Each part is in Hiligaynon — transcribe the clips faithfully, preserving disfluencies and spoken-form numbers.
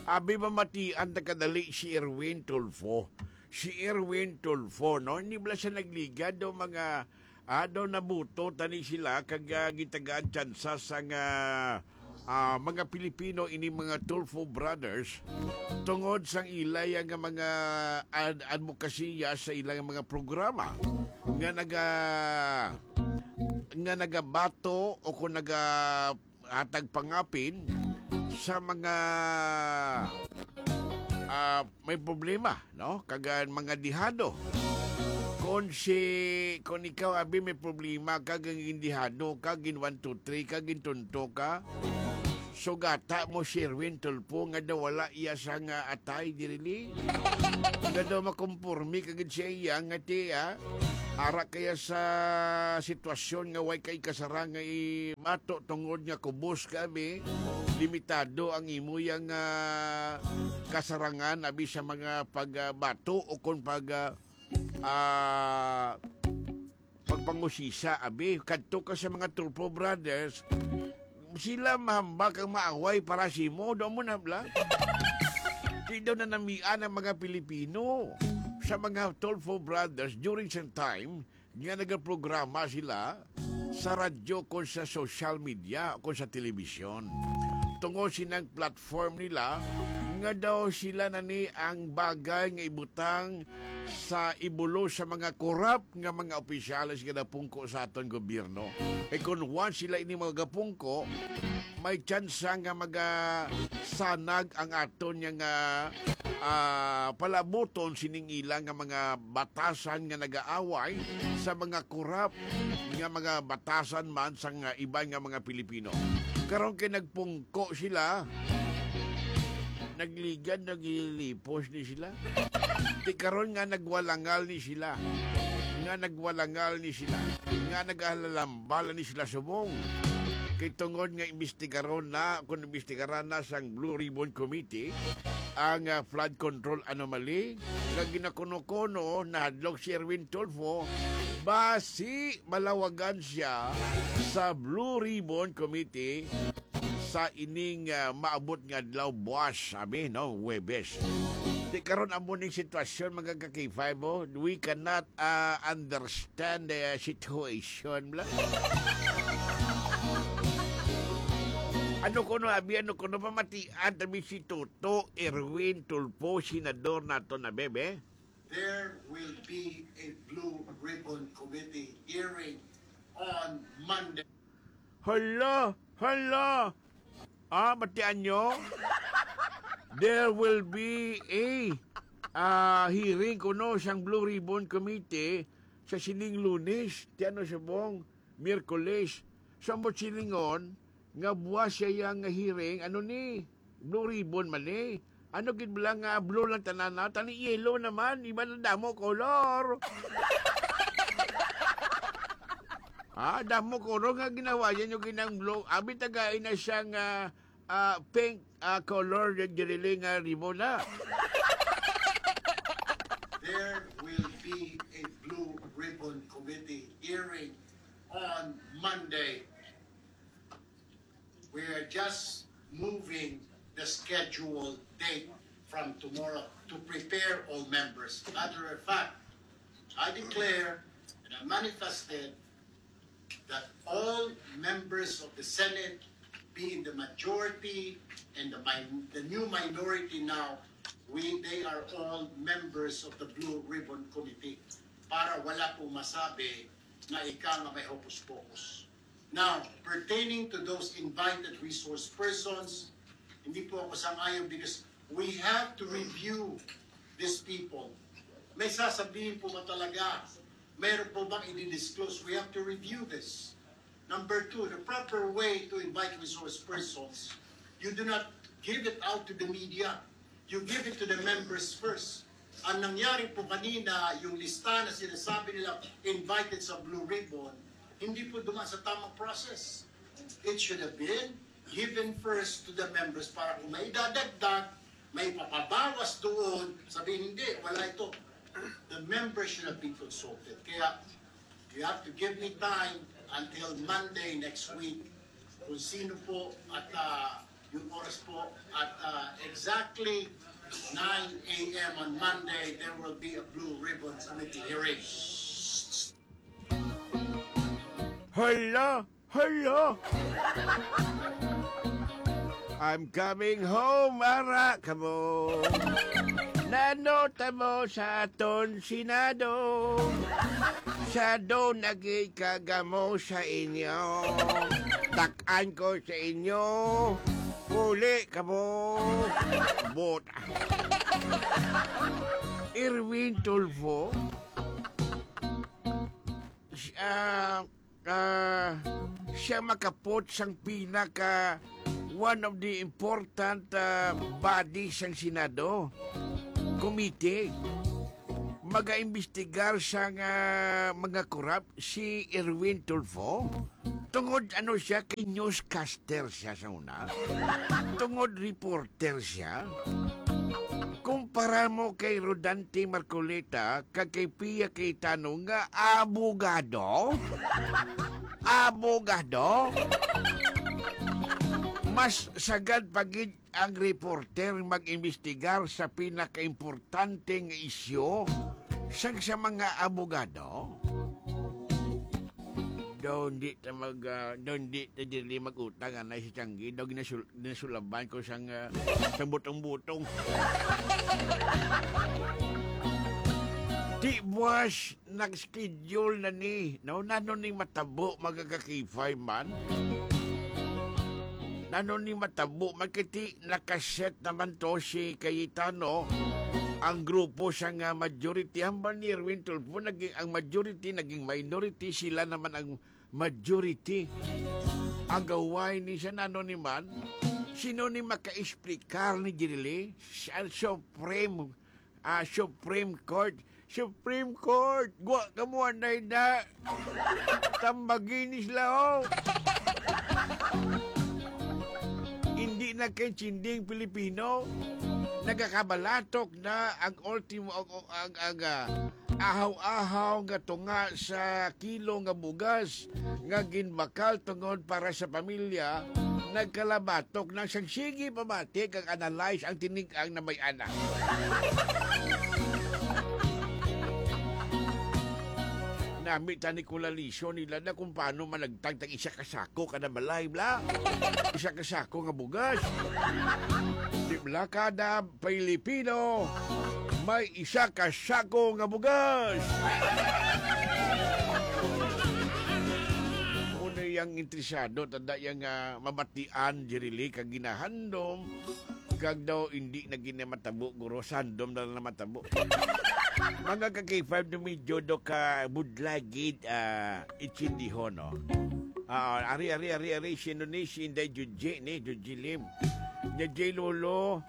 Abi, mamatian ta kadali si Erwin Tulfo. Si Erwin Tulfo, no? Hindi bala siya nagligad o mga, ah, daw nabuto tani sila kag, ah, gitagaan tsansa sa nga, ah, mga Pilipino ini mga Tulfo Brothers tungod sang ilay nga mga ad- advokasya sa ilang mga programa nga naga nga nagabato o kung naga hatag pangapin sa mga, ah, may problema, no? Kag, ah, mga dihado. Kon si, kon ikaw, abi, may problema ka, gin dihado ka, gin one, two, three ka, gin tunto ka, sugata mo si Erwin Tulfo nga daw wala iya sa nga atay diri. Nga daw makomporme ka gid siya iya nga ti, ah, ara kaya sa sitwasyon nga way kay kasarang nga ibato tungod nga kubos ka, abi, limitado ang imo yang, ah, kasarangan, abi, sa mga pagbato o kon pag, ah, ah, pagpangusisa, abi. Kadto ka sa mga Tulfo Brothers, sila mahambak ang maaway para sa imo. Daw mo na, bla? Di daw nanamian ang mga Pilipino sa mga Tulfo Brothers during sa time nga nagaprograma sila sa radyo, kon sa social media, kon sa telebisyon. Tungod sinang platform nila nga daw sila na ni ang bagay nga ibutang sa ibulo sa mga korap nga mga opisyales nga napungko sa aton gobyerno. Kay kon once sila ini mga gapungko, may tsansa nga magasanag ang aton nga, ah, palabuton sining ila nga mga batasan nga nagaaway sa mga korap nga mga batasan man sang, ah, iban nga mga Pilipino. Karon kay nagpungko sila, nagligad, naglilipos ni sila. Ti karon nga nagwalangal ni sila, nga nagwalangal ni sila, nga nagalalambal ni sila subong. Kay tungod nga imbestigaron na, kung imbestigaran na sang Blue Ribbon Committee ang, ah, flood control anomaly nga ginakuno-kuno nahadlok si Erwin Tulfo, basi malawagan siya sa Blue Ribbon Committee sa ining, ah, maabot nga adlaw, buwas, abi, no, Huwebes. Ti karon amo ning sitwasyon, mga ka-K five, oh. We cannot, ah, understand the situation, bla. Ano kuno, abi, ano kuno, pamatian, tabi si Toto Erwin Tulfo, senador nato na, bebe? There will be a Blue Ribbon Committee hearing on Monday. Hala! Hala! Ah, batian nyo? There will be a, ah, hearing kuno sang Blue Ribbon Committee sa sining Lunes. Ti ano subong? Miyerkules. Sa mo silingon nga buwas siya yang hearing, ano ni? Blue Ribbon man ni. Ano gid bala nga blue lang tanan na? Tani yellow naman, iba na damo color. Ah, damo color nga ginawa yan yung ginang blue. Abi tagay na siya nga, ah, pink, ah, color, yung diriling nga ribbon na. There will be a Blue Ribbon Committee hearing on Monday. We are just moving the scheduled date from tomorrow to prepare all members. Matter of fact, I declare and I manifested that all members of the Senate, being the majority and the min-, the new minority now, we, they are all members of the Blue Ribbon Committee. Para wala po masabi na ika nga may hocus-pocus. Now, pertaining to those invited resource persons, hindi po ako sang-ayon because we have to review these people. May sasabihin po ba talaga? Meron po bang i-disclose? We have to review this. Number two, the proper way to invite resource persons, you do not give it out to the media. You give it to the members first. Ang nangyari po kanina, yung lista na sinasabi nila invited sa Blue Ribbon, hindi po dumaan sa tamang process. It should have been given first to the members para kung may dadagdag, may papabawas doon, sabihin, "Hindi, wala ito." The members should have been consulted. Kaya, you have to give me time until Monday next week kung sino po at, ah, Yung oras po at, ah, exactly nine a m on Monday, there will be a Blue Ribbon Committee hearing. Hala! Hala! I'm coming home, ara kamo. Nano ta mo sa aton Senado? Sa do nagikagamo sa inyo. Takan ko sa inyo. Uli kamo. Bot. Erwin Tulfo. Ah, ah, siya makapot sang pinaka one of the important, ah, body sang Senado, committee. Magaimbestigar sang, ah, mga korap si Erwin Tulfo. Tungod ano siya, kay newscaster siya sa una. Tungod reporter siya. Kumpara mo kay Rodante Marcoleta kag kay Pia Cayetano nga abogado? Abogado? Mas sagad pa gid ang reporter mag-imbestigar sa pinakaimportante nga isyu sang sa mga abogado. Daw hindi ta mag, ah, daw hindi ta dili mag-utang, anay si Changi. Daw ginasul-, ginasulaban ko sang, ah, sang butong-butong. Di buwas nag-schedule na ni, no? Nano ni matabo, mga ka-K five man? Nano ni matabo, magkiti nakaset naman to si Cayetano, ang grupo sa nga majority, hambal ni Erwin Tulfo, naging, ang majority naging minority, sila naman ang majority. Agaway ni siya, nano ni man? Sino ni maka-explicar ni Jirili? Sa Supreme, ah, Supreme Court. Supreme Court, gwa ka mo anay na. Tambagi ni sila, oh. Hindi na kay chinding Pilipino. Nagakabalatok na ang ultimo, ang, ang, ang, ah, ahaw-ahaw nga tunga sa kilo nga bugas nga ginbakal tungod para sa pamilya, nagkalabatok na sang sige pamati kag analyze ang tinig-ang na may anak. Nami tani ko lalisyon nila na kung paano managtag tag isa ka sako kada balay, bla. Isa ka sako nga bugas. Di bla kada Pilipino may isa ka sako nga bugas. Una yang interesado, tada yang, ah, mabatian, Jirili, kag ginahandom. Kag daw, hindi na gina matabo, guro. Sandom na lang na matabo. Mga ka-K five, no, medyo do ka budlagid, ah, itsindihon, no? Ah, ari, ari, ari, ari, sino ni? Si Inday Juji, ni Juji Lim. Nya, J Lolo,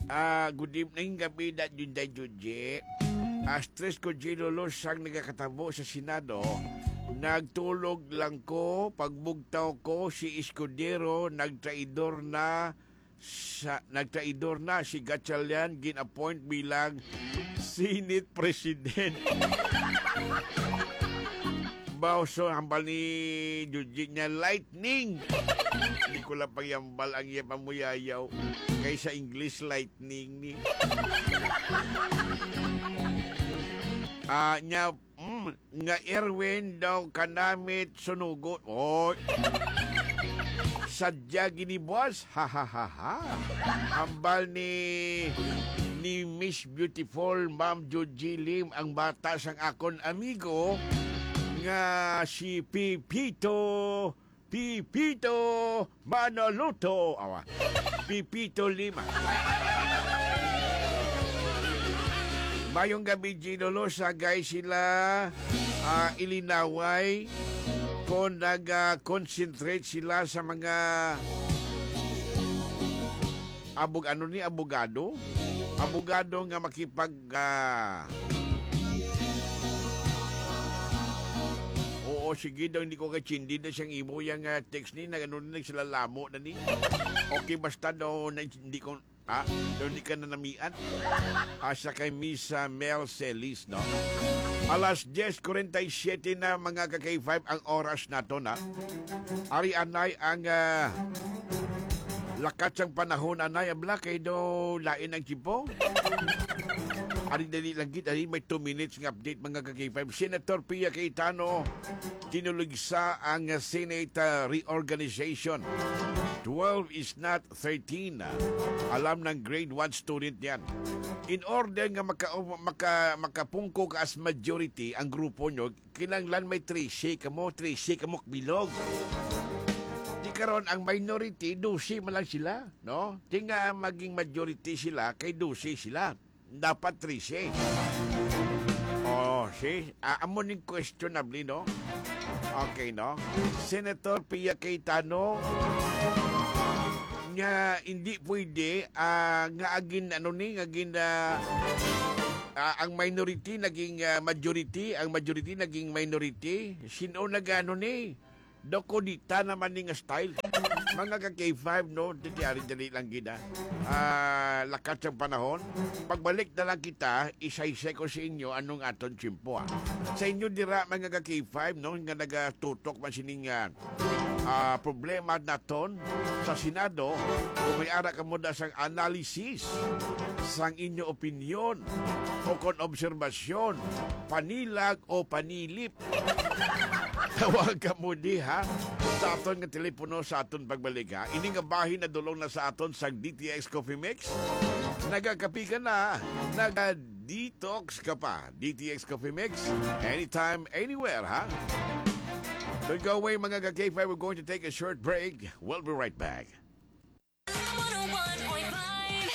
ah, good evening, gabi, da, Inday Juji. Ah, stress ko, J Lolo, sang nagakatabo sa Senado. Nagtulog lang ko, pagbugtaw ko, si Escudero, nagtraidor na, sa, nagtraidor na si Gatchalian, gin-appoint bilang Senate President. Bawso, hambal ni Juji niya, lightning. Hindi ko lang pagyambal ang iya pamuyayaw. Kay sa English, lightning ni. Ah, niya, mm, nga Erwin daw kanamit sunugot. Oy. Sadya gini, boss. Ha, ha, ha, ha. Hambal ni, ni Miss Beautiful, Ma'am Joji Lim, ang bata sang akon amigo nga si Pipito, Pipito Manaloto. Awa. Pipito Lima. Mayong gabi, Gino Losa, guys, sila, ah, ilinaway kung nag-concentrate sila sa mga abog-, ano ni, abogado? Abogado nga makipag, ah, oo, sige daw, hindi ko kachindi na siyang imo yang, ah, text ni, nag-, ano ni, nagsilalamo na ni. Okay, basta daw, na, hindi ko, ah, daw hindi ka nanamian. Asa kay Miss, ah, Mel Celis, no? Alas diyes kuwarenta y siyete na, mga ka-K five, ang oras nato na. Ari anay ang, ah, Lakat sang panahon, anay, abla, kay do lain ang tiyempo. Ari, dali lang gid, ari, may two minutes nga update, mga ka-K five. Senator Pia Cayetano, tinuligsa ang Senate, ah, reorganization. Twelve is not thirteen. Alam ng grade one student yan. In order nga maka-, maka-, makapungko ka as majority ang grupo nyo, kinahanglan may trese kamo, trese kamo bilog. Di karon ang minority, dose man lang sila, no? Di nga maging majority sila, kay dose sila. Dapat trese. Oh, see? Ah, amo ning questionable, no? Okay, no? Senator Pia Cayetano, nga hindi pwede, ah, nga agin, ano ni, nga agin, ah, ah, ang minority naging, ah, majority, ang majority naging minority. Sino nag-ano ni? Dokudita naman ni nga style. Mga ka-K five, no? Dili, ari, dali lang gid, ah. Ah, lakat sang panahon. Pagbalik na lang kita, isaysay ko sa inyo anong aton tiyempo, ah. Sa inyo dira, mga ka-K five, no? Nga nagatutok man sining, ah, ah, problema naton sa Senado, kung may ara kamo da sang analysis, sang inyo opinyon, o kon obserbasyon, panilag o panilip, tawag kamo diha sa aton nga telepono sa aton pagbalik, ha. Ini nga bahin nadulong na sa aton sa D T X Coffee Mix. Nagakapi ka na, naga-detox ka pa. D T X Coffee Mix, anytime, anywhere, ha? Don't go away, mga ka-K five. We're going to take a short break. We'll be right back. One oh one point five.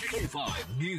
K five News.